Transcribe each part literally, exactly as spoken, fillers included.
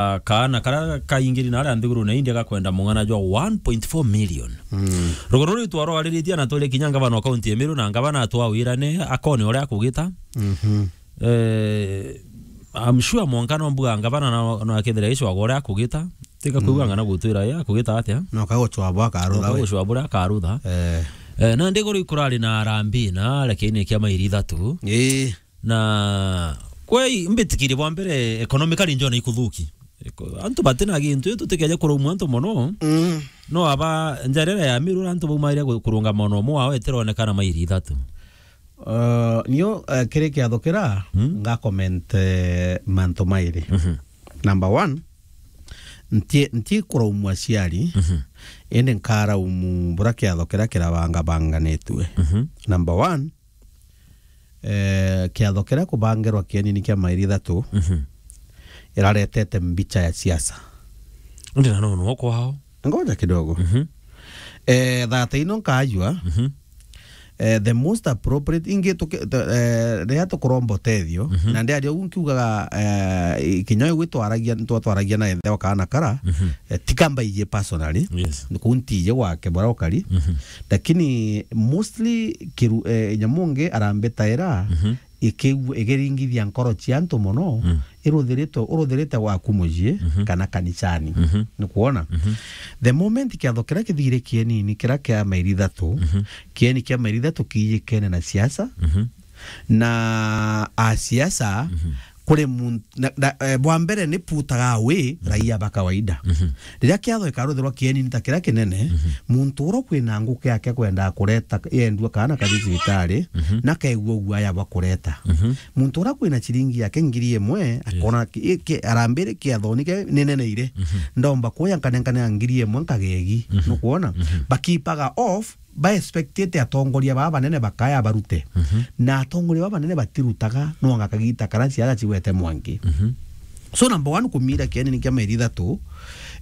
ah, kaana karia kaingiri na aria nthiguru na India gakwenda mung'ana jwa one point four million. Mm. Ruguru ruu twarwariritie na twiri kinya ngavana wa kaunti ya Meru, na ngavana atwawirane akone uria akugita. Mhm. Eh, I'm sure mwanka no mbuga ngavana na, na akethira icwagwa uria akugita. Tika kuuga Mm. ng'ana gutwira ya akugita atia. No kagucwabwa akarutha No we. Kagucwabwa uria akarutha. Eh. Eh, na ndiguru ikurari na arambi na, lakini kia mairi ithatu. Ii. Na kwei mbitikirie bwa mbere economically njona ikuthuki. Eko-, antu batina gintu, tutikenye kuraumwa antu mono. Mm. No aba njarera ya Meru antu baumaire gu-, kurungama mono, umwe wao etironekana mairi ithatu. Uh, nio, uh, kiri kiatho kira, Mm. nga comment, eh, mantu mairi. Mhm. Number one, nti, nti kuraumwa aciari, Mhm. indi nkaraumu bura kiatho kira kirabangabanganitue. Mhm. Number one, eh, kiatho kiria kubangirwa kienini kia mairi ithatu, Mhm. iraretete mbicha ya siasa. Ndi na nono kwao. Ngoja kidogo. Mhm. Eh, thata ino nkajua, Mhm. eh, the most appropriate, ingi tuki-, the, eh, riria tukuromba utethio, Mhm. na ndiaria ugu nkiugaga, eh, kinya uyu gwitwaragia, twatwaragia na ithe wa kaana kara, Mhm. eh, ti kamba iji personally, Yes. ni kuu ntiji gwake bura ukari, Mhm. lakini mostly kiru-, eh, nyamu ngi arambitaira, Mhm. ikiigua, ikiringithia nkoro cia antu mono, Mm. iruthirite, uruthirite gwaku mucii Mhm. kana kanisani. Mhm. Ni kwona? Mhm. The moment kiatho kiria kithire kienini, kiria kia mairi ithatu, Mhm. kieni kia mairi ithatu kiijikene na siasa, Mhm. na a siasa, Mhm. kuri muntu, na, na, eh, bwa mbere ni putaga away Mhm. raia ba kawaida. Mhm. Riria kiatho gikaruthirwa kienini ta kiria kinene, Mhm. muntu uria kwina nguki yake kwendaa kureta yendua kaana kathi cibitari, Mhm. na kaigua guaya bwa kureta. Mhm. Muntu uria kwina ciringi yake ngiri imwe, Yes. akona ki-, ki-, arambiri kiathoni ke nineneire. Mhm. Ndomba kuya nkanenkane ya ngiri imwe nkagegi. Mhm. Nukwona? Mhm. Bakipaga off, ba expectite atongoria baba banene bakaya barute. Mhm. Na atongoria baba banene batirutaga, no anga kagita karia ciaga cigwete mwanki. Mhm. So number one, kumira kienini kia mairi ithatu,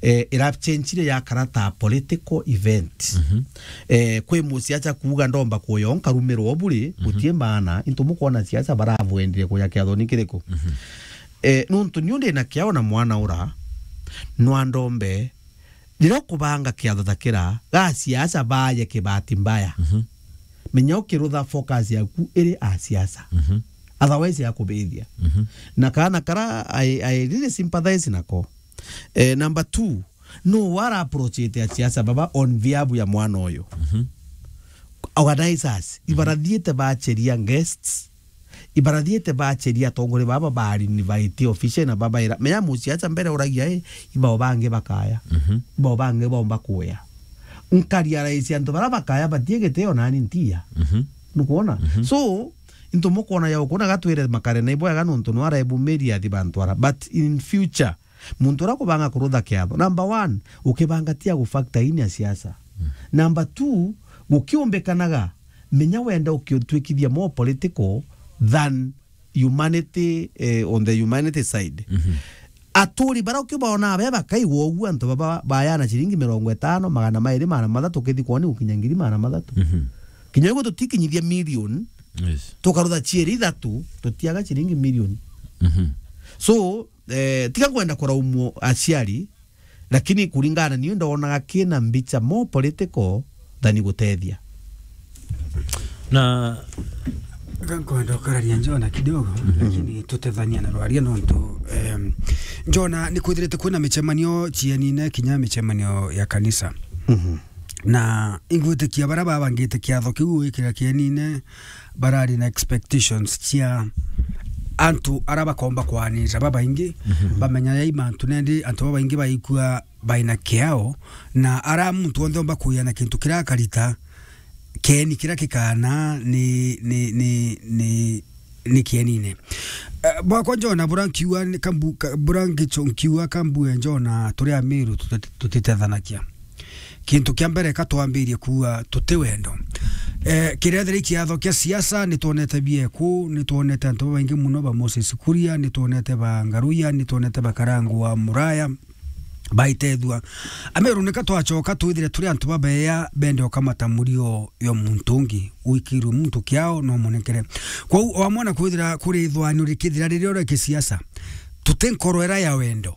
eh, irachenjire yakara ta political event. Mhm. Eh, kwi musiacha kuuga ndomba kuya nkarumirwo buri, Mhm. gutie maana, into mukwona siasa baravwendire kuya kiathoni kiriku. Mhm. Eh, nuntu niu ndi na kiao na mwana ura, nwa ndombe, riria ukubanga kiatho ta kira, ga siasa baye kibati mbaya. Mhm. Menya ukirutha focus yaku iri a siasa. Mhm. Otherwise ya kubithia. Mhm. Na kana kara I, I really sympathize nako. Eh, number two, no wara approach ite a siasa baba on behalf ya mwana uyu. Mhm. Organizers, Mhm. ibarathiite bacheria guests, ibarathiite bacheria atongoria baba ba invite official na babaira. Menya musiacha mbere uragia, eh, ibao bangi bakaya. Mhm. Ibao bangi bomba kuya. Nkaria raisi antu bara bakaya batie gitio nani ntia. Mhm. Nukwona? Mhm. So, into mukwona ya ukuna gatwire makare na ibwega nuntu nwara ebumiria athi bantu ara. But in future, muntu uria kubanga kurutha kiatho, number one, ukibanga tia gufactor in ya siasa. Mm. Number two, gukiumbikanaga, menya wenda ukiutwikithia more political than humanity, eh, on the humanity side. Mhm. Aturi bara ukibona be bakaigwa uguo, antu baba bayana ciringi mirongo itano, magana mairi, magana mathatu, ukithi kwoni gukinya ngiri magana mathatu. Mhm. Kinya uguo tutikinyithia million, Yes. tukarutha cieri ithatu, tutiaga ciringi million. Mhm. So, eh, tiga kwenda kuraumwo aciari, lakini kuringana na niu ndonaga kina mbicha more political than gutethia. Na Ga-, nkwenda ukararia Njona kidogo, Mhm. lakini tutethania na rwaria nontu, em, Njona ni kwithirite kwina micemanio cienine kinya micemanio ya kanisa. Mhm. Na ingwitikia bara babangite kiatho kiu gwikira kienine, barari na expectations cia antu ara bakomba kwanirira babaingi, Mhm. bamenya yai mantu nendi antu babaingi baikua baina kiao, na ara muntu onthe omba kuya na kintu kira akarita, kieni kira kikana ni, ni, ni, ni, ni kienine. Eh, bwakwa Njona, bura nkiuga ni kambu-, ka-, bura ngicho nkiuga kambue Njona, turi Amiru tuti-, tutitethanakia. Kintu kia mbere ka twambirie kuuga tuti wendo. Eh, kiria thiri kiatho kia siasa, ni twonete bieku, ni twonete antu babaingi muno ba Moses Kuria, ni twonete ba Ngaruya, ni twonete ba Karangwa Muraya, baitethua. Ameru nika twachoka twithire turi antu babeya bende ukamata murio yo muntu ungi, wikirwe muntu kiao no munekere. Kwou wamwona kwithira kuri ithwani urikithira riria uri kisiasa, tuti nkoro era ya wendo.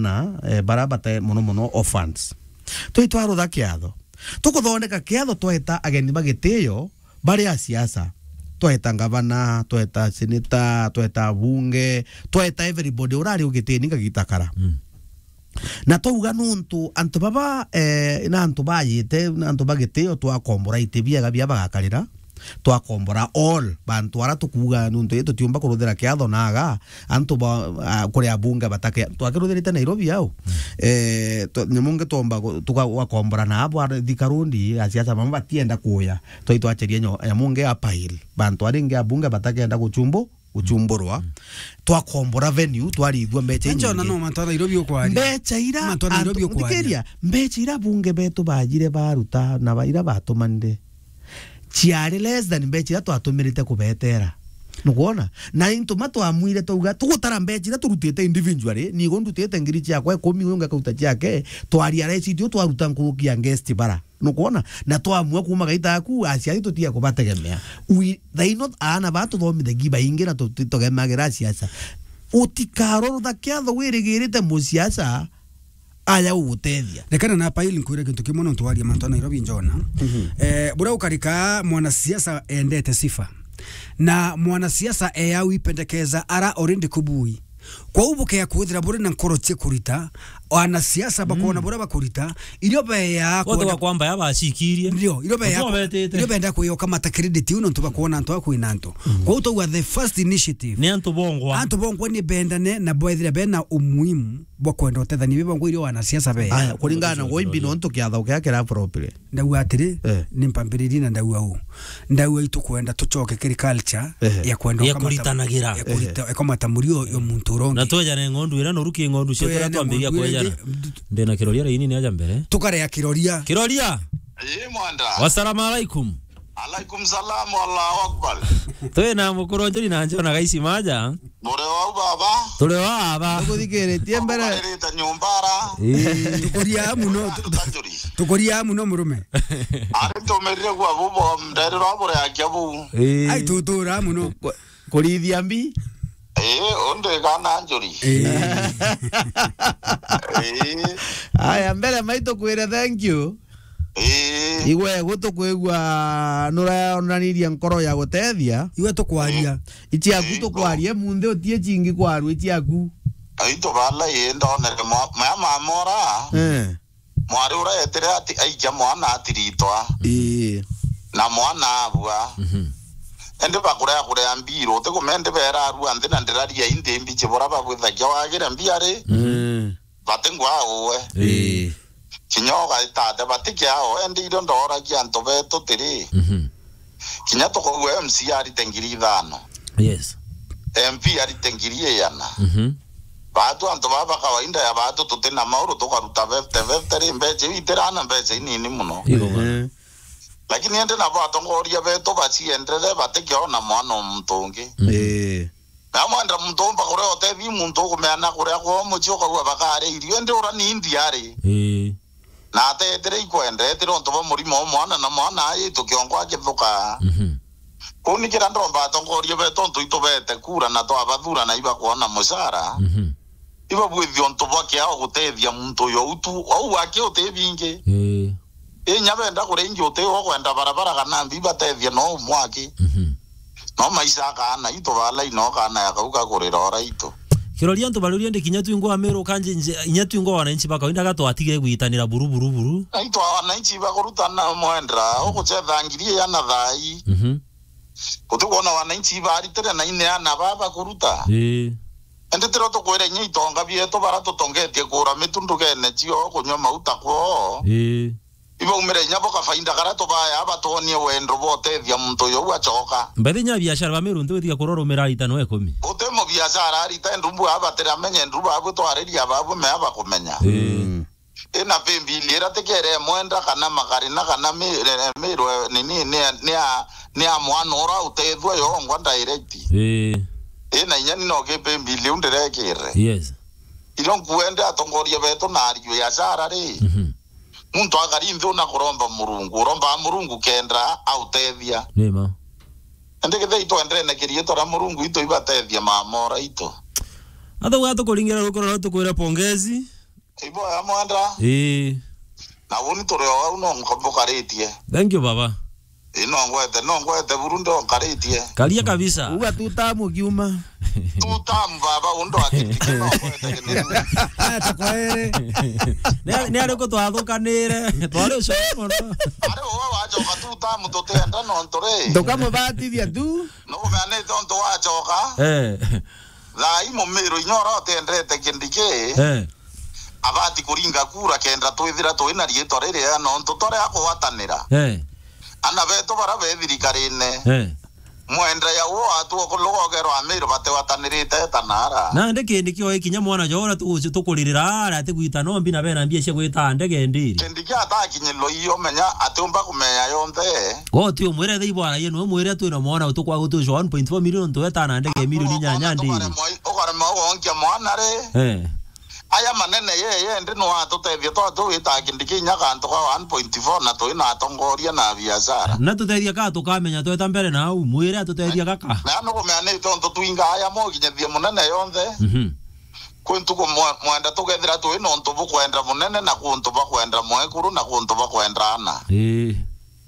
aana, eh, bara bate mono mono orphans. Twi twarutha kiatho. Tukuthondeka kiatho tweta ageni ba gitio bari a siasa. Tweta ngavana, tweta seneta, tweta abunge, tweta everybody urari ugitini ngagita kara. Mm. Na twauga nuntu antu baba, eh, na antu bayite, na antu ba gitio twakombora iti biega bia bagakarira, twakombora all bantu ara tukuuga nuntu ii tutiumba kuruthira kiatho naga, antu ba, a, kuri abunge batake, twakiruthirite Nairobi au. Mm. Eh, twa-, nyamu ngi twomba gu-, tuka-, gwakombora na abo ara thika rundi, asiasa bamwe batienda kuya, twai twacheria nyo-, nyamu ngi appeal, bantu aringi abunge batakenda guchumbu-, guchumburwa, mm, twakombora venue, twarithua mbecha. Njona inyingi. No mantu a Nairobi ukwaria. Mbecha ira Mantu a Nairobi antu, ukwaria. Thikiria, mbecha ira bunge betu bajire baruta na ba-, ira batumanire, ciari less than mbecha ira twatumirite kubetera. Nukwona? Na into ma twamwire twauga, tugutara mbecha ira turutite individually, nigo ndutite ngiri ciakwa ikumi, uyu ungi akauta ciake, twaria receipt iyo twaruta nkuruki ya guest bara. Nukwona? Na twamua kuuma gaita aku, aciari tutiga kubategemea. We, thaino aana ba tuthomithagi baingi na tu-, tu-, tugemagira siasa. Utikarorotha kiatho wirigirite musiasa aja gugutethia. Rekana na Pail nkwire kintu kimwe nontu waria mantu a Nairobi Njona. Mhm. Eh, buria ukarika mwanasiasa endete sifa. Na mwanasiasa eau ipendekeza ara already kubui. Kwou bukea kwithira buri na nkoro cia kurita, anasiasa bakona, mm, buria bakurita, irio beya Wote kwenda kwa kwamba yabacikirie. Ndio, irio beya Ndio ku-, betite. Irio benda kuyoka mata credit iu nontu bakwona antu a kwina antu. Mm. Kwou twauga the first initiative. Ni antu bongwa. Antu bongwa ni bendane na bwethira bena umuhimu bwa kwenda utethania bi bongwa irio anasiasa beya. Aya, kuringana na Ndio, wimbi ndio. Nontu kiatho kia kira appropriate. Ndauga atiri, eh, ni mpambiririe na ndauga uu. Ndauga itukwenda tucoke kiri culture, ehe, ya kwenda ya ukamata-, kuritanagira, ya kurita-, ehe, ukamata murio yo muntu urongi. Na twejane ng'ondu ira noru ki ng'ondu cietu ira twejane twambiria ng'ondu ira kwejana. Ingi, ndina kiroria raini ni aja mbere. Tukarea kiroria. Kiroria! Ii, mwanda. Wasalamu alaikum. Alaikum salam, Allahu Akbar. Twina mukuru Njuri na Njona Gaisi Maja. Muri wau baba? Turi o aba. Tukuthikiritie mbere. Tukubariritie nyumbara. Ii. Tukuria muno. Tukuria muno murume. Ari tumirire gwa bubo, nderira bure akia bu. Ii. Ai, tutura muno. Ku-, kurithia mbi? Ii, undi kana Njuri. Ii. Ii. Aya, mbere mai tukwire thank you. Ii. Igwe gutukwigua nurayonanirie nkoro ya gutethia. Igwe tukwaria. Ii. Ichiaku tukwarie munthi utie chingi kwarua ichiaku. Aitu bala ii ndonere mwa-, maya mamora. Eh. Mwari ura etire ati aikia mwana atiritwa. Ii. Na mwana abua. Mhm. Indi bakurea kurea mbiru, utikumendi bera arua nthi na ndiraria inthi mbichi bura babwithagia wagire mbia ri. Mhm. Bati ngwa uwe. Ii. Kinya ugaitate bati kiao, endi irio ndoragia antu betu tiri. Mhm. Kinya tukaigua M C A arite ngiri ithano. Yes. M P arite ngiri iana. Mhm. Batu antu baba kawaida ya batu tutina mauru tukaruta fifty fifty ri mbecha iu itirana mbecha inini muno. Iko bana. Ehe. Lakini endi nabo atongoria betu bacienderere batikiona mwana o muntu ungi. Mhm. Ii. Na mwenda muntu umba kuria utethi muntu ukumeana kuria kwa mucii ukauga bakare irio, indi ura ni India ri. Ii. Na atetire ikwenda, etire untu bwa murimo o mwana, na mwana ayitu kiongo akithuka. Mhm. Kuu ni kira ndomba atongoria betu untu itubete kura na twabathura na ibakwona mucara. Mhm. Ibabwithia untu bwa kiao gutethia muntu uyu au tu, au wake uti bingi. Ii. Inya benda kuria ingi uti wo kwenda barabara kana mbi batethia no umwaki. Mhm. No maisha akaana itu bala ino kana ya kau kakurira ora itu. Kiroria antu barurie ndi kinya twingwa Meru kanji nje, inya twingwa wananchi ba kawaida gatwatige gwitanira buru, buru, buru. Aitu wananchi bakurutana mwendra, ukuchetha ngiri iana thai. Mhm. Uti kuona wananchi baritire na ineana baba kuruta. Ii. Indi tiro tukwira inya itonga bietu bara tutongetie kura mitundugene cio kunywa mauta kwoo. Ii. Ibaumire inya bo kafaida karia tubaya batwonie wendo bwa utethia muntu uyu au acoka. Mbathi nya biashara ba Meru ntiwitiga kurorumira itano ikumi. Uti mu biashara arita ndumbu abatira amenye ndu babu twariria babu me abakumenya. Ii. Mm. Ina paybill ira tikere mwenda kana makarina kana mi-, re-, mirwe nini ni, ni a, ni a mwana ura utethua yongwa direct. Ii. Ina inya ni no ke paybill iu ndirekire. Yes. Iro nkuende atongoria betu na ariu ya Sara ri. Mhm. Muntu akari nthi una kuromba Murungu, uromba Murungu kenda autethia. Ni ma. Indi githei twendene kiriitwa ria Murungu itu ibatethia mamora itu. Atha gwa tukuringira rukoro rwa tukwira pongezi. Ibo ya mwenda. Ii. Na uni turi o au no nko-, mbukaritie. Thank you, baba. Ii, no ngwete, no ngwete buru ndo nkaritie. Karia kabisa. Uga tu tamu kiuma. Tu tamu, baba, undo akitike no ngwete kinene. Aya, tukoere. Ni, ni ariku twathukanire? Twari ucoro mono. Ari uwe wacoka tu tamu tutienda no nturi. Tukamubatithia tu. No kumeanite untu wacoka. Eh. Thaa ii Mumiru inya uria utiendete Kindiki, eh, abati kuringa kura kenda twithira twina riitwa riria nontu turi akugwatanira. Eh. Ana betu bara be thirikarine. Eh. Mwenda ya uo atu okuluga ogerwa Amiru batigwatanirite ta nara. Nandi Kindiki oe kinya mwana jora tugucio tukuririra ara atigwita nombi na bena mbia cia gwita ndege ndiri. Kindiki atakinyirwa iyo menya atiumba kumenya yonthe. Go ti umwire thei bwana yenu, umwire twina mwana utukwa gutucwa one point four million tweta na ndege milioni inyanya ndiri. Ukarema ugonkia mwana ri. Eh. Aya manene ye, ye ndi no atutethia twa tu wita Kindiki inya kantu ka one point four na twina atongoria na biashara. Na tutethia ka tukamenya tweta mbere na au, mwire atutethia gaka. Na no kumenya ni tontu twinga aya moginyethia munene yonthe. Mhm. Kwi ntuku mwe-, mwenda tugethira twi nontu bukwenda munene na kuntu bakwenda mwekuru na kuntu bakwenda ana. Ii.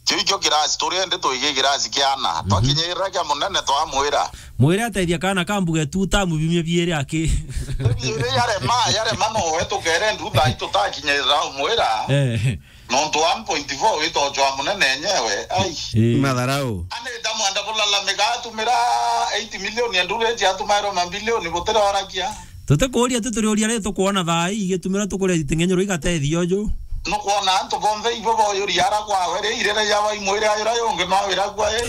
Kiu ikio kirasi turi endi twigi kirasi kia ana. Mhm. Twakinyirira kia munene twamwira. Mwire atethia kana ka mbuge tu tamu bimwe biiri aki. Biiri yarema, yarema no we tukere ndu thaa ii tutakinyirira umwira. Eh. Nontu one point four witochwa munene enyewe. Ai. Ii. Matharau. Anita mwenda kulalamika atumira eight million ya nduru eti atumairwo mabilioni butira orakia. Tutikuuria tu turiuria ri tukwona thaa ii igitumira tukuria iteng'enyoro igatethia uju. Nukwona antu bonthe ibo boyuria ara kwawe ri, irere ya baimwire ayura yungi no wira kwa i.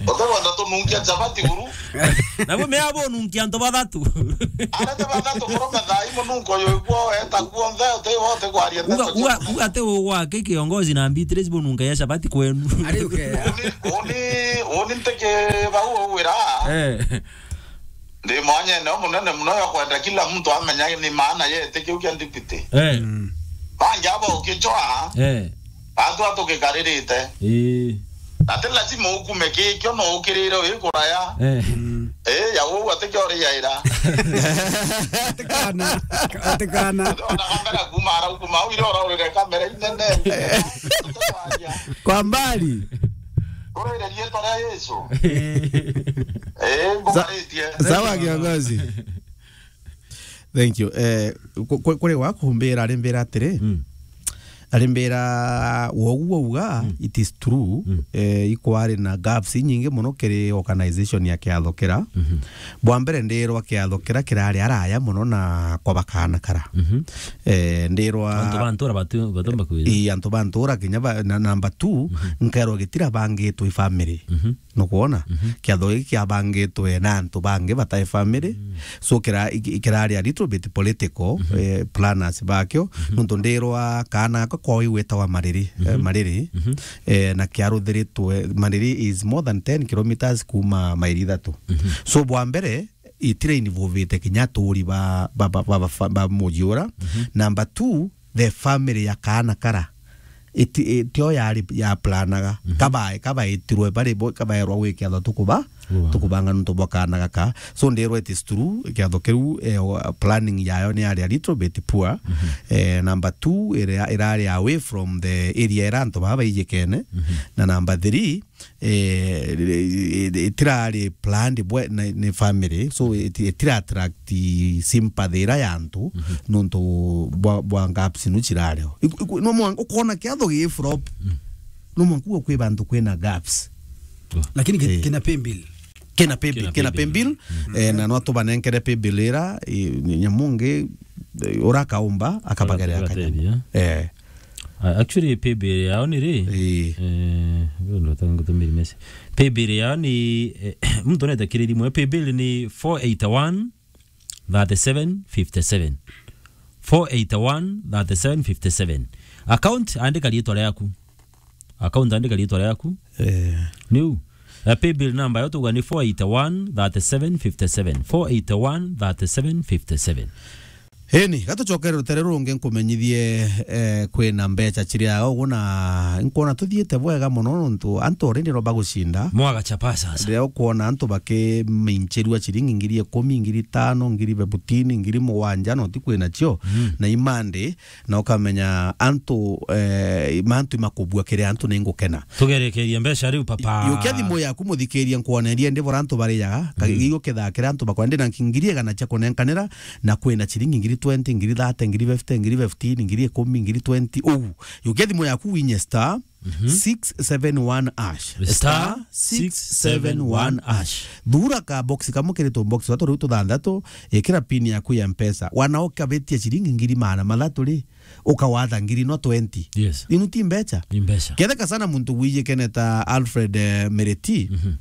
Utegwenda tununkia chabati guru. Nabo mea bonunkia antu bathatu. Arete bathatu kurume thai mununko yu kwo eta kuonthe uti wote kwaria. Uga ndeto uga cia uga te ugwake kiongozi na Beatrice bonunka ya chabati kwenu. Ari ukea. Uni uni uni nteke bau wira. Eh. Ndi mwanyene umunene muno ya kwenda kila mtu amenya ni maana yete kiu kia ndipiti. Eh. Mm. Bangi abo ukichwa. Eh. Atu atugigaririte. Eh. Ati lazima ukume kikio no ukirire wi kuraya. Eh. Mm. Eh, ya uu ati kio ri yaira. Atikana. Atikana. Ona kamera kuma ara kuma au ire ora urire kamera inene. Kwa mbali. Urire rietwa ria Yesu. Eh, ngugaritie. Sawa, kiongozi. Thank you. Eh, ku- ku- kuri gwakumbira arimbira atiri. Mm. Arimbira wogu wauga, mm, it is true. Mm. Eh, ikwari na gaps inyingi muno kiri organization ya kiatho kira. Mhm. Bwa mbere ndirwa kiatho kira kirari araya muno na kwa bakana kara. Mhm. Eh, ndirwa antu ba ntura batu- batomba kwira. Ii, antu ba ntura kinya ba- na- number two, mhm, nkerwa gitira bangitwe family. Mhm. Nukwona? Mhm. Kiatho giki kiabangitwe na antu bangi batai family. Mm. So kira- iki- kirari a little bit political, mhm, eh, planners bakio. Mhm. Nontu ndirwa kaana gaka kwao igwitawa Mariri, eh, mhm, Mariri. Mhm. Eh, na kiaruthiritwe, Mariri is more than ten kilometers kuma mairi ithatu. Mhm. So bwa mbere, itira involvite kinya aturi ba, ba, ba, ba, ba, ba muji ura. Mhm. Number two, the family ya kaana kara. Iti- itio yari ya planaga. Mhm. Kabae- kabaitirwe bari bo- kabaerwa gwikia tho tukuba, wow, tukubanga nuntu bwa kaana gaka. So ndirwa it is true, kiatho kiu, eh, o- planning yayo ni yari a little bit poor. Mhm. Eh, number two, ira- irari away from the area ira antu baba baijikene. Mhm. Na number three, eh, itirari planned bwe- ni, ni family, so iti- itira attract sympathy ira ya antu, mhm, nontu bwa, bwa gaps nu cirario. Iku- iku- no mwanka ukona kiatho gi flop. Mm. No mwanka uga kwi bantu kwina gaps. Lakini ki- Eh. kina pay bill. Kina pay bill, kina pay bill. Mm. Eh, na no tubanenkere pay bill ira, eh, nyamungi, eh, ura akaumba, akabagerera kanyamu. Eh. Ah, actually, pay bill yao ni ri? Ii. Eh, ndio ndo tangu tumiri message. Pay bill yao ni, eh, mtu anaweza kiri rimwe. Pay bill ni four eight one thirty seven fifty seven. Four eight one thirty seven fifty seven. Account, andika riitwa riaku. Account, andika riitwa riaku. Eh. Niu. Ya pay bill number yo tuga ni four eight one thirty seven fifty seven. Four eight one thirty seven fifty seven. Eni, gatucokere rutere rungi nkumenyithie, eh, kwina mbeca ciria ugu na nkwona tuthiite bwega muno nontu antu already no bagucinda. Mwaga chapa sasa. Riria ukwona antu bakiminchirua ciringi ngiri ikumi, ngiri itano, ngiri fifteen, ngiri mugwanja, no ti kwina cio. Mm. Na imandi, na ukamenya antu, eh, mantu imakubua kiri antu ni ngukena. Tugerekerie mbeca riu, papa. Yukia thimu yaku, muthikiria, nkwonerie ndi bora antu barijaga. Ka- Mm. Iyo kethakira antu bakwenda na ngiri igana cia kunenkanira, na kwina ciringi ngiri twenty, ngiri thirty, ngiri fifty, ngiri fifteen, ngiri ikumi, ngiri twenty, uu. Yukia thimu yaku winye star, mhm, six seven one hash. Star six seven one hash. Thura ka box kamwe kiri tu box twatu riu tuthanthatu, ikira pin yaku ya Mpesa. Wana ukabetia ciringi ngiri magana mathatu ri, ukawatha ngiri no twenty. Yes. Inu ti mbeca. Ni mbeca. Ketheka sana muntu wijikene ta Alfred, eh, Mereti. Mhm.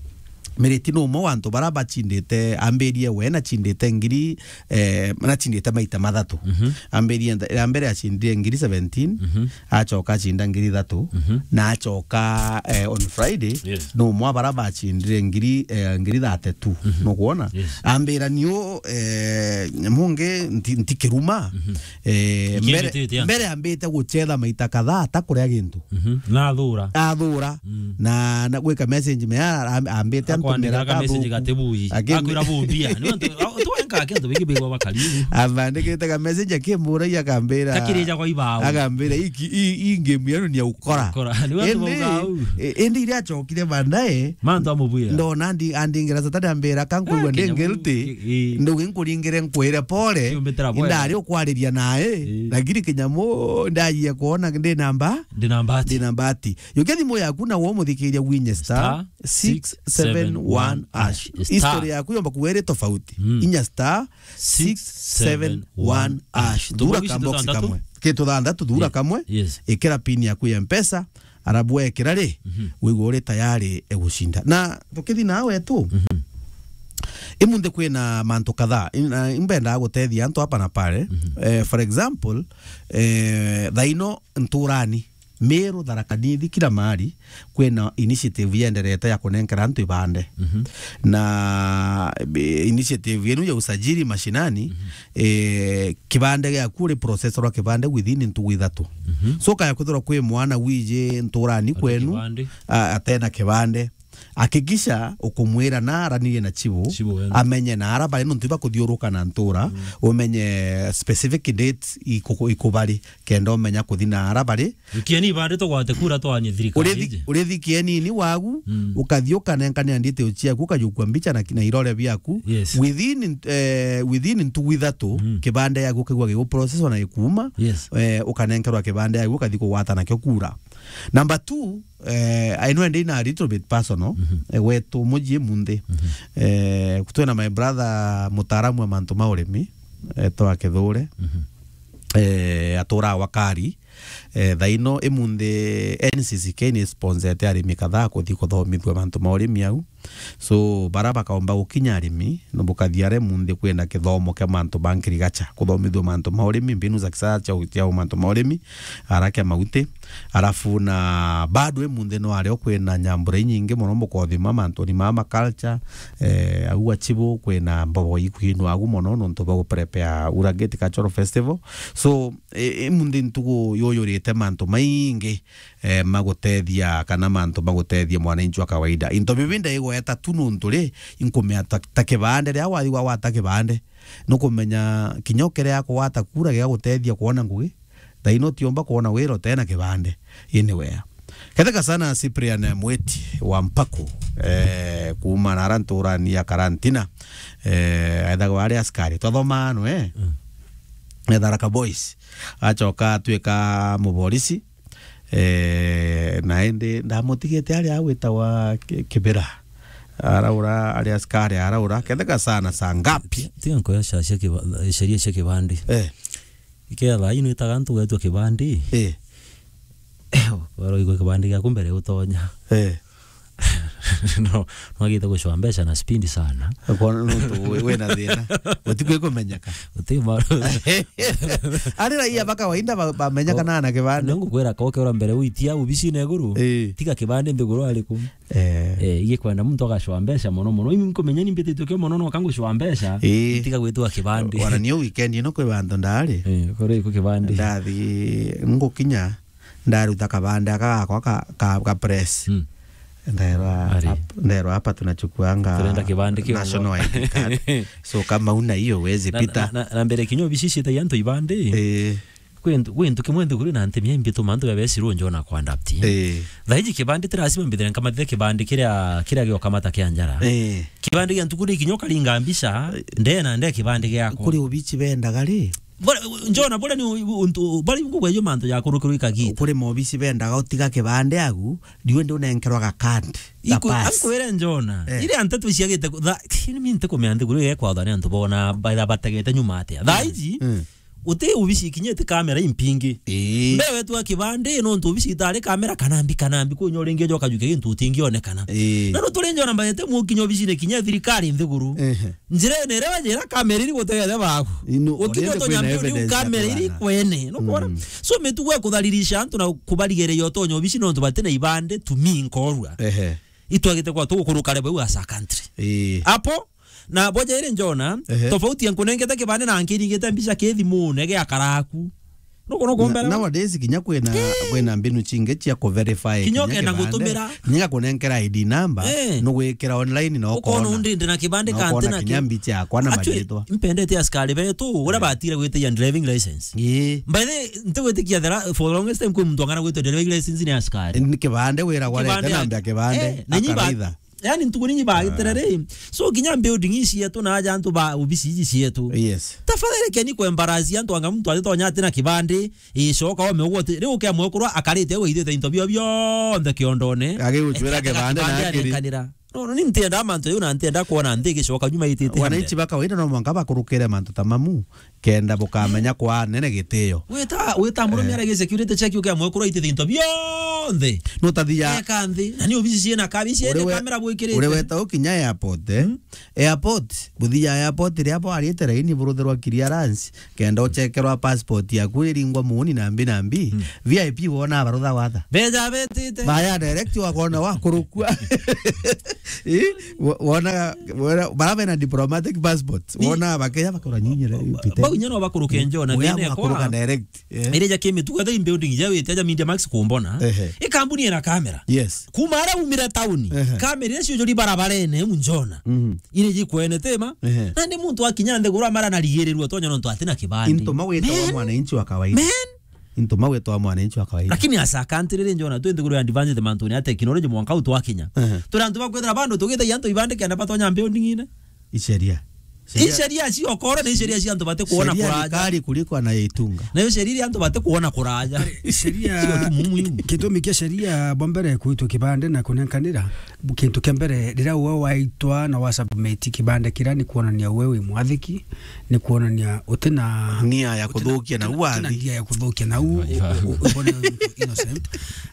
Mereti ni umwe wa antu bara bachindite, ambirie we nachindite ngiri, eh, nachindite maita mathatu. Mhm. Ambirie ntha- ya mbere achindire ngiri seventeen, mhm, acoka achinda ngiri ithatu, mhm, na acoka, eh, on Friday, yes, ni umwe wa bara bachindire ngiri, eh, ngiri thirty-two. Mhm. Nukwona? Yes. Ambira niu, eh, mungi nti- ntikiruma. Mhm. Eh, mbere, mbere ambite guchetha maita kadhaa atakuria gintu. Mhm. Na athura. Athura. Mm. Na, na gwika message me a- a- ambite antu mera ka message gatibui. Akwira bumbia. Ni antu tu enka kintu biki bigwa bakari. Abandikite ka message akimburagia akambira. Takirija kwa ibao. Akambira iki i, i game yanu ni ya ukora. Ukora. Ni antu bauga au. Indi, e- indi iria achokire baadaye. Mantu amubwira. Ndona ndi andingira Saturday ambira kankwigua ndi guilty. Ndugi nkuringire nkwire pole. Ndari ukwariria nae. Lakini kinyamu ndajia kuona ndi namba. Ndi na mbati. Ndi na mbati. Yukia thimu yaku na wo muthikiria winye star six seven one hash. Star. History yaku yomba kuwa iri tofauti. Mm. Inya star six seven one hash. Thura ka box kamwe. Kitu thanthatu, thura Ye-, kamwe, yes. Ikira pin yaku ya Mpesa, arabu wekira ri, Mhm. wigua uri tayari egucinda. Na tukithi na wetu, Mhm. imunthi kwina mantu kadhaa. In-, na imbendaa gutethia antu hapa na pale. Mhm. Eh, for example, eh, thaino nturani, Meru, Tharaka Nithi, kila mahali, kwina initiative yenderete ya kunenkera antu ibande. Mhm. Na, eh, initiative yenu ya usajili mashinani, Mhm. eh, kibande giaku uri process rwa kibande within ntugu ithatu. Mhm. So, kaya kwithirwa kwi mwana wiji nturani Ati kwenu, kibande. A-, atena kibande, hakikisha ukumwira na aranirie na chibu, Chibu wenu. Amenye na ara bari nontu bakuthiuruka na ntura, Mm. umenye specific dates iku-, ikubari, kenda umenya kuthi na ara bari. Kieni ibande tugwate kura twanye thirikari Urithi-, iji. Urithi kienini wagu, Mm. ukathi ukanenkanira details ciaku, ukajukua mbicha na, na irore biaku. Yes. Within, eh, within ntugu ithatu, Mm. kibande yaku kigua gigu process na ikuuma, Yes. eh, ukanenkerwa kibande yaku, ukathi kugwata nakio kura. Number two, eh, I know ndi na a little bit personal, Mhm. eh, wetu muji munthi. Mhm. Eh, twina my brother mutaaramu wa mantu ma urimi, eh, etwa Kithure. Mhm. Eh, atura wa Kari. Eh, thaino imunthi N C C K ni sponsete arimi kadhaa kuthi kuthomithua mantu ma urimi au. So, bara bakaomba gukinya arimi, no bukathi aria munthi kwina kithomo kia mantu ma agriculture, kuthomithua mantu ma urimi, mbinu za kisasa cia u-, cia mantu ma urimi, ara kia mauti. Arafu na bado imunthi no ario kwina nyambura inyingi mono mukothima mantuni ma ma culture, eh, au achibu kwina mbogo ikwinwa agu mono nontu ba guprepare Ura Gate Cultural Festival. So, i-, imunthi ntugu yuyurite mantu maingi, eh, magutethia kana mantu magutethia mwananchi wa kawaida. Into bibi ndaigweta tu nontu ri, inkumea ta, ta kibande, riria wathi gwata kibande, nukumenya kinya ukerea kugwata kura giga gutethia kwona ngugi, thaino utiumba kwona wira utena kibande. Anywhere. Ketheka sana Cyprian Mweti wa Mpaku, eh, kuuma na ara nturani ya Karantina, eh, ethagwa ari askari. Twathoma ano, eh? Mm. Etharaka Boys. Acoka atwika muborisi, Eh, na indi ndamutigite aria agwitagwa Ki-, Kibira. Araura, ari askari araura, ketheka sana saa ngapi? Tiga nkoya cia, cia kiba-, sheria cia kibandi. Eh. Ikea thaa ino itaga ntu gwetwa kibandi. Eh. Waro igwe kibandi giaku mbere utonya. Eh. No, nwagite gucwa mbeca na speed sana. Kwona nontu wi-, wina thina. Utikwi kumenyeka. Uti ma- Ari raia ba kawaida ba-, bamenyeka na ana kibande. Nongu kwira koke ura mbere uitia ubicine iguru. Eh. Tiga kibande nthiguru ariku. Eh. Eh, igikwenda muntu agacwa mbeca mono mono. Imi nkumenya ni mbititwe kio mono no kangucwa mbeca. Eh. Tiga gwitwa kibande. Wana niyo weekend ino kwi bantu ndari. Eh, kore iku kibande. Ndathi ngukinya. Ndaruta kabande aka gakwa ka, ka, ka press. Mm. Nderwa Ari. Ap-, nderwa hapa tunachukuanga Turenda kibande kio national I D card. So kama una hiyo huwezi Na, pita. na, na, na mbere kinya obici cietagia antu ibande. Eh. Kwi ntu, kwi ntu kimwe nthiguru na ntemi ya imbi tuma antu babesi runjo na kuadapt. Eh. Thaiji kibande ti lazima mbithire nkamatire kibande kiria, kiria giokamata kia njara. Eh. Kibande gia ntuku ni kinya ukaringa mbica, ndena nde kibande giakwa. Kuri obici bendaga ri? Bora, njona, bora ni u-, u-, untu, bora ngugwa ijo mantu ja kurukirwa ikagita. Kuri mobisi bendaga utiga kibande agu, riu ndi unenkerwa ga card, ga Iku-, pass. Ankwire njona, Eh. Iria nteto ciagite ku-, tha-, ni mi ntikumea nthiguru igekwathwa ni antu bona, baitha bategete nyuma atia. Thaa iji, Mm. uti obisi ikinyite kamera impingi. Ii. Mbe wetu a kibande, nontu obisi itari kamera kanambi, kanambi, kunya uringi ujoka juke gintu utingionekana. Ii. Na no turi njona mbaete mukinya obisine kinya thirikari nthiguru. Ehe. Njirene iria wajira kamera iri gutegete baku. Ino, Ukinya already utonya kwina mbio ni evidence ya kamera iri kugana. Kwene. Nukwona? Mm. So mitugo ya kutharirisha antu na kubarigereria utonya obici nontu bati na ibande to me nkorua. Ehe. Itwagite kwa tugukuruka level as a country. Ii. Apo, na boja iri njona, Ehe. Tofauti ya nkunengete kibande na nkiringite mbica ki thimune gia karaku. Nuko, nuko Na, mbere. Nowadays kinya kwina, Eh. Kwina mbinu chingi cia ku verify Kinya kinya ukenda kibande. Gutumira. Kinya gakunenkera I D number, Eh. Nugwikira online na Ukona ukona. Undi ndi na kibande Na kanti ukona na kinya ki-, mbicha yakwa na Actually, maritwa. Mpendete askari betu, uria Eh. Batire gwitigia driving license. Ii. By the way, ntigwitikia thera, for the longest time kwi muntu ang'ana gwitwa driving license ni askari. Ni kibande wira warete Kibande na ya-, mbia kibande, Eh, na nyi ba-, akaritha. Yani ntuku ninyi bagitire ri. So kinya building ici yetu na aja antu ba obisi ici cietu. Yes. Tafadhali keni ku embarrass antu anga muntu atitonya ati na kibande, icoka ome uguo ati, riu ukia mwekurwa akarite we ithite into bio bionthe kiondone. Agigucwira kibande na akiri. Arenkanira. No, no, ni ntienda mantu jau na ntienda kwona nthi igicoka nyuma itite. Wananchi ba kawaida no mwanka bakurukire mantu ta mamu, kenda bukamenya kwa nene gitio. Wita, wita murume Eh. arege security check uke amwekura itite into bionthe. No tathia. Eka nthi. Na ni obici ciena kabici Uri ene we-, kamera bwikirite. Uri weta ukinya airport, eh? Mm. Airport, buthia airport ria bwarite raini buruthirwa clearance, kenda uchekerwa passport yaku iringwa muuni na mbi na mbi. Mm. V I P wona barutha watha. Beja betite. Baya direct wakona wakurukua. Eh? Wo-, wona, wona, bara bena diplomatic passport. Ni- Wona bakeja bakora nyinyira, Ba-, pite. Bau inya no bakuruke njo na Uya thina wakuruka kwa direct. Eh. Iri ja kimitugo, the building ja wite ja Media Max kumbona. Ehe. I kambuni ena kamera. Yes. Kuma ara umire tauni. Ehe. Kamera iria ciujuri barabarene, munjona. Mhm. Iri jikwene tema. Ehe. Na ndi muntu akinya nthiguru amara na rigirirua tonya nontu atina kibandi. Into mawita wa Man. Mwananchi wa kawaida. Man. Into mawita wa mwananchi wa kawaida. Lakini asa country ri njona, twi nthiguru ya advanced mantune ya technology mwanka u twakinya. Ehe. Turi antu bakwithira bandu tugithagia antu ibandi kenda batonya building ine. Iceria. Iceria cia okoro ni iceria cia antu bati kuona kuraja. Sheria ni kali kuliko anayeitunga. Na yo sheria iria antu bati kuona kuraja. Sheria, sio tu mumu yu. Gitumi kia sheria bwa mbere kuitwa kibande na kunenkanira, kintu kia mbere, riria we waitwa na wa submit kibande kiria, ni kuonania we wi mwathiki, ni kuonania uti na Nia ya uti na, kuthukia na uti na, uti na uathi. Nia ya kuthukia na u-, Aiya. U-, u-, ubone innocent.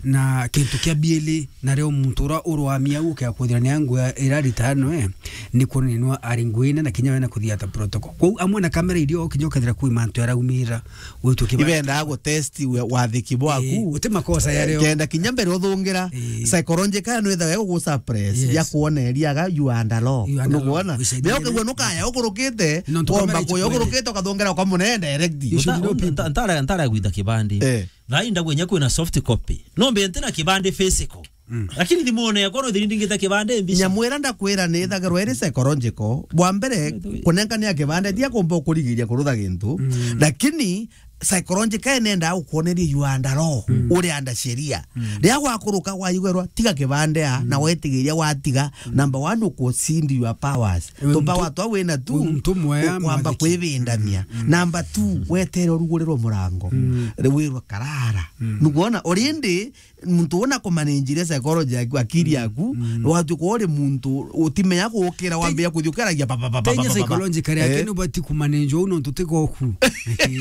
Na kintu kia biili, na rio muntu uria urwamia u kia kwithira ni angu ira ritano, eh, ni kuonania nwa ari nguine na kinya wena kuthiata protocol. Kwou amwe na kamera irio kinya ukethira kwi mantu araumira, witwe kibanda. Ibendaa gutest we-, wathiki bwaku. Eh, uti makosa ya rio. Kenda kinya mbere uthungira, eh, psychological no ithaga gugu suppress, yes, ya kuoneria aga you are under law. You are under law. Nukuona? Usaidie. Ndio kigwa nukaya ukurukite, nontu womba kamera kuya ichikwende. Ukurukite ukathungira kwa munene direct. You should know people. Nta-, nta-, ntara, ntara gwita kibandi. Eh. Thaa ii ndagwenya kwina soft copy. No mbe ntina kibandi physical. Mm. Lakini thimune yakwa no thiri ndingita kibandi mbica. Nyamwira ndakwira ni ithagirwa iri psychological. Bwa mbere, kunengania kibandi, ndia kumba ukurigiria kurutha gintu. Mm. Lakini psychological nenda gukuoneria you are under law, mm, uri under sheria. Mm. Riria gwakuruka waigwerwa, tiga kibandi a, mm, na wetigiria watiga, mm, number one, ukucindi your powers. We tu power twa wina tu, we mtu mwea ukwamba mwathiki. Kwibindania. Mm, mm. Number two, mm, wetere urugurirwe murango. Mm. Riu wirwe karara. Mm. Nukwona, already muntu una kumanenjire psychology yaku, akili yaku, mm, watuka uri muntu utimenya gukira, wambia kuthi ukiragia pa, pa, pa, pa, pa, pa, pa. Tenya psychological yake. Eh. Ni ubati kumanenjwa uno ntutika oku.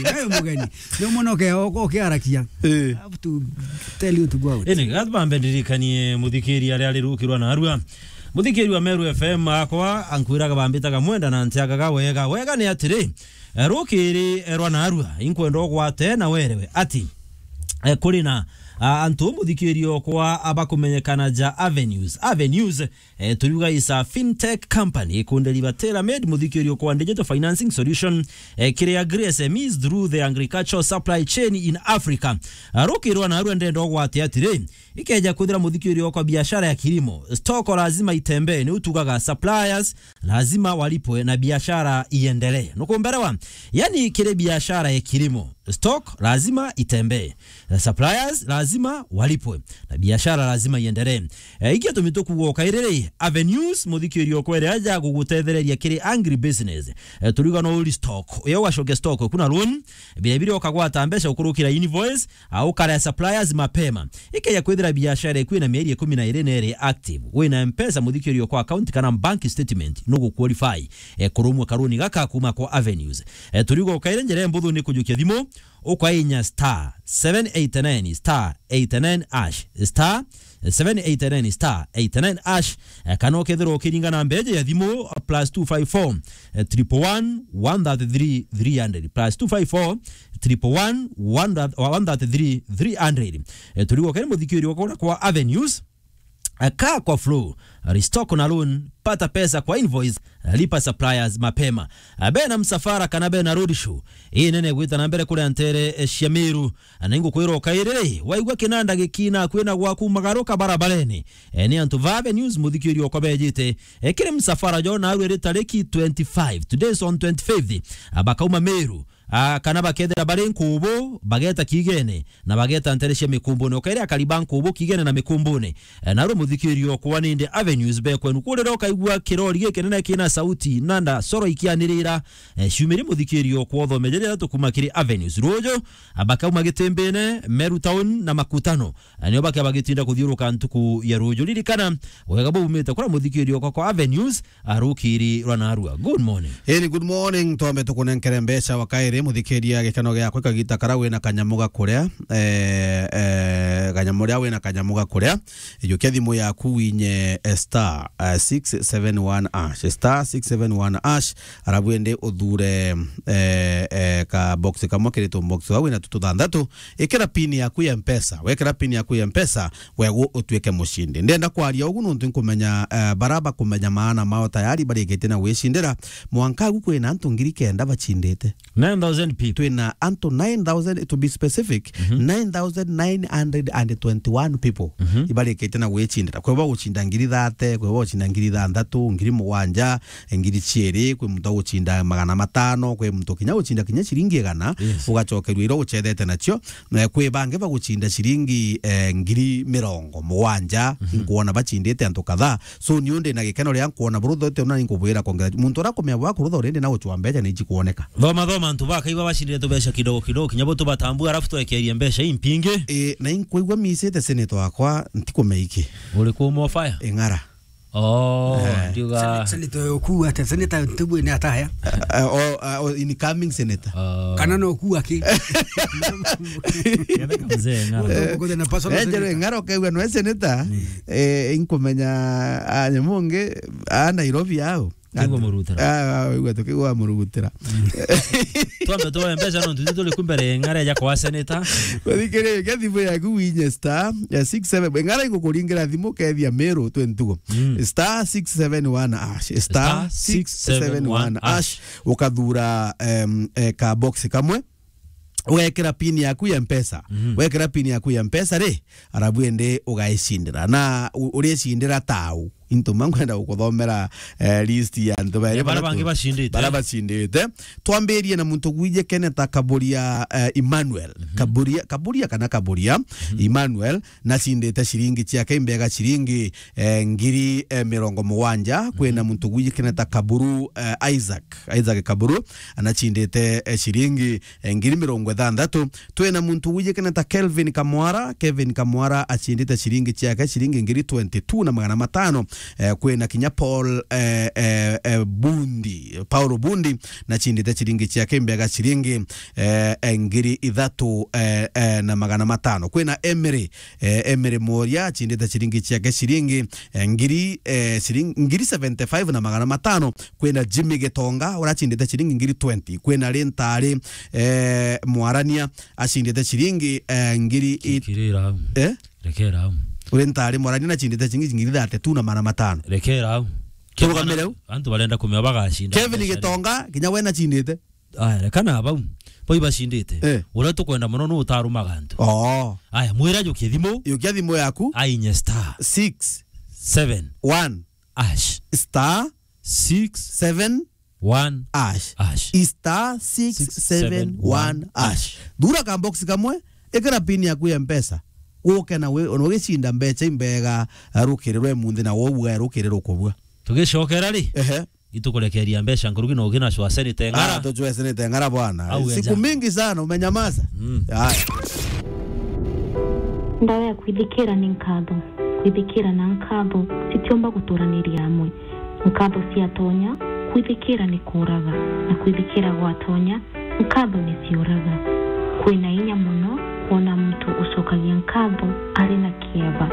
Nayo mugeni. Ni mwana uke-, uke-, ukiarakia. Eh. I have to tell you to go out. Ene, gatbambe ndirikanie muthikiri aria ari rukirwa na arua. Muthikiri wa Meru F M akwa, ankwiraga bambitaga mwenda na ntiagaga wega. Wega ni atiri, eh, rukiri, eh, rwa narua, inkwenda ugwate na werewe ati, eh, kuri na, ah, antu muthikiri okwa abakumenyekana ja Avenues. Avenues, eh, turiuga is a fintech company ikunderiba tailor-made muthikiri okwa digital financing solution, eh, kiri agri S M Es through the agricultural supply chain in Africa. Ah, rukiri rwa narua ndenda ugwate atiri, ikeja kwithira muthikiri okwa biashara ya kilimo, stock lazima itembee, ni utugaga suppliers lazima walipwe na biashara iendelee. Nukumberewa? Yani kiri biashara ya kilimo, stock lazima itembee, suppliers lazima walipwe na biashara lazima iendelee. Eh, iki tumi tukuga ukairiri Avenues, muthikiri okwa iria aja gugutethereria kiri agri business. Eh, turiuga no uri stock, uyo ugacokia stock kuna loan, bire bire ukagwata mbeca ukurukira invoice, au ukarea suppliers mapema. Ikeja kwithira biashara iku ina mieri ikumi na iri na iri active, wina M-Pesa muthikiri okwa account kana bank statement, nugu qualify, eh, kurumwa karuni gaka kuma kwa Avenues. Eh, turiuga ukaire njira mbuthu ni kujukia thimu, ukainya star seven eight nine star eight nine hash, star seven eight nine star eight nine hash, eh, kana ukethirwa ukiringa namba iji ya thimu, plus two five four, eh, triple one, one thirty-three, three hundred, plus two five four, triple one, one thirty-three, three hundred. Eh, turigo kene muthikiri wakwa kwa Avenues, eh, kaa kwa flow, restock na loan, pata pesa kwa invoice, eh, lipa suppliers mapema. Eh, bena msafara kana bena road show, ii nene gwita na mbere kuria ntere, eh, cia Meru, na ingukwira ukairiri, waigua kinanda gikina kwina gwaku magaruka barabarene. Eh, ni antu ba Avenues muthikiri okwa bejite, eh, kiri msafara jo narua iri tariki twenty-five, today is on twenty-fifth, ah, bakauma Meru, ah, kana bakethira bari nkubu, bageta kiigene, na bageta ntere cia mikumbune. Ukaire akari ba nkubu kiigene na mikumbune. Eh, narua muthikiri okwa nindi Avenues bekwenu. Kurira ukaigua kirori gikinene kina sauti, nanda coro ikianirira. Eh, ciumiri muthikiri okwa uthome jiri ithatu kuma kiri Avenues. Ruju, ah, bakauma Gitimbine, Meru Town na Makutano. Na nio bakia bagitinda kuthiuruka ntuku ya ruju. Ririkana, wega bumite kuria muthikiri okwa kwa Avenues, arukiri rwa narua. Good morning. Eni, good morning. Twambe tukunenkere mbeca wa kairi, muthikiria gikeno giakwa kagita kara wina kanyamu ga kuria, eh, eh, kanyamu ria wina kanyamu ga kuria. Ijukia thimu yaku winye, eh, star, eh, six seven one hash, star six seven one hash, arabu ende uthure, eh, eh, ka box kamwe kiri tu box wau wina tu tuthanthatu. Ikira pin yaku ya Mpesa. Wekira pin yaku ya Mpesa, wegu utuike mucindi. Ndenda kwaria ugu nontu nkumenya, eh, bara bakumenya maana mao tayari barikitie na gwicindira. Mwanka agu kwina antu ngiri kenda bacindite. Nine thousand people. Twina antu nine thousand, to be specific, Mhm. nine thousand nine hundred and twenty-one people Mhm. ibarikitie na gwicindira. Kwi bo gucinda ngiri thate, kwi bo gucinda ngiri thanthatu, ngiri mugwanja, ngiri ciiri, kwi muntu agucinda magana matano, kwi muntu kinya gucinda kinya ciringi igana, Yes. ugacokerua iria ucethete nacio. Eh, kwi bangi bagucinda ciringi, eh, ngiri mirongo mugwanja, Mhm. nkuona bacindite antu kadhaa. So, niu ndi na gikeno ria nkuona burutho, ete una ninkubwira kongera. Muntu uria akumenya bwa kurutha already na gucwa mbeca ni ici kuoneka. Thoma, thoma, antu bakaiba bacindire tubeca kidogo kidogo, kinya bo tubatambue, arafu twekerie mbeca impingi. Eh, na inkwigua misite senator wakwa, ntikumenya iki. Uri ku more fire? Ing'ara. Oh, Eh. ndiuga. Sen-, senator uyu ukuu atia? Senator ntigwine ataya. Eh, oh, ah, oh, incoming senator. Oh. Kana no ukuu aki? Ketheka mzee ng'ara. Ukuthe na personal Eh, njero senator. Ing'ara ukaigua nwe senator. Mm. Eh, inkumenya, ah, nyamungi, ah, Nairobi au. Kigwa murutira. Ah, ah, igwe tukigwa murugutira. Twambe tuoe mbeca nontu ithu turi ku mbere Ing'ara eja kwa senator. Wathikiriria thimu yaku winye star, eh, six seven. Ing'ara igukuringira thimu kethia Meru twenty two. Mm. Star six seven one hash. Star six seven one hash. Ukathura, em, eh, ka box kamwe. Ugekira pin yaku ya Mpesa. Mhm. Wekira pin yaku ya Mpesa ri, arabu ende ugaicindira. Na u-, uricindira tau. Into mankwenda gukuthomera, eh, list ya antu bairi Ya bara bara bangi tu-, bacindite. Bara bacindite. Twambirie na muntu gwije keneta Kaburia, eh, Emmanuel. Mhm. Kaburia, Kaburia kana Kaburia Mhm. Emmanuel, nacindite ciringi ciake imbega ciringi, eh, ngiri, eh, mirongo mugwanja. Kwina Mhm. muntu gwije keneta Kaburu, eh, Isaac. Isaac Kaburu, anacindite, eh, ciringi, eh, ngiri mirongo ithanthatu. Twina muntu wijikene ta Kelvin Kamwara. Kevin Kamwara acindite ciringi ciake, ciringi ngiri twenty two na magana matano. Eh, kwina kinya Paul, eh, eh, eh, Bundi, Paulo Bundi, nacindite ciringi ciake imbega ciringi, eh, eh, ngiri ithatu, eh, eh, na magana matano. Kwina Emery, eh, Emery Mworia acindite ciringi ciake ciringi, eh, ngiri, eh, ciringi ngiri seventy five na magana matano. Kwina Jimmy Gitonga, uria acindite ciringi ngiri twenty. Kwina Rintari, eh, Mwarania, acindite ciringi, eh, ngiri it-, Kirira au. Eh? Rekera au. Rintari Mwarania nacindite ciringi ngiri thirty two na magana matano. Rekera au. Turugamire au. Antu barenda kumenya bagacinda Kevin mbeca ri? Gitonga, kinya we nacindite. Aya, reka na bau. Bau ibacindite. Eh. Uria tukwenda mono nu utarumaga antu. Oo. Aya, mwira jukie thimu. Jukia thimu yaku. Ainye star. Six. Seven. One. Ash. Star. Six. Seven. One. Ash. Ash. Star six seven one ash. Thura ka box kamwe, ikira pin yaku ya Mpesa. Uke na we, ona ugicinda mbeca imbega, rukiri rwe munthi na wou, rukiri rukubua. Tugicokera ri? Ehe. Itukurekeria mbeca nkuruki na ugi na cwa senete Ng'ara. Ah, tucwe senete Ng'ara bwana. Au ya Siku ja. Mingi sana umenyamaza. Mm. Haya. Ndawa ya kwithikira ni nkatho. Kwithikira na nkatho citiumba guturaniria amwe. Nkatho ciatonya, kwithikira ni kuuraga, na kwithikira gwatonya, nkatho ni ciuraga. Kwina inya mono kwona muntu ucokagia nkatho ari na kieba.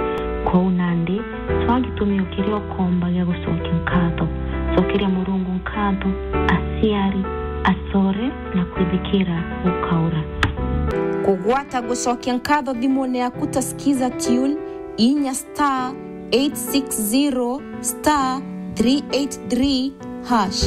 Kwou nandi, cwaa gitumi o kiria ukomba gia gucokia nkatho. Cokeria Murungu nkatho, aciari, acore, na kwithikira gukaura. Kugwata gucokia nkatho thimune yaku ta Skiza Tune, inya star eight six zero star three eight three hash.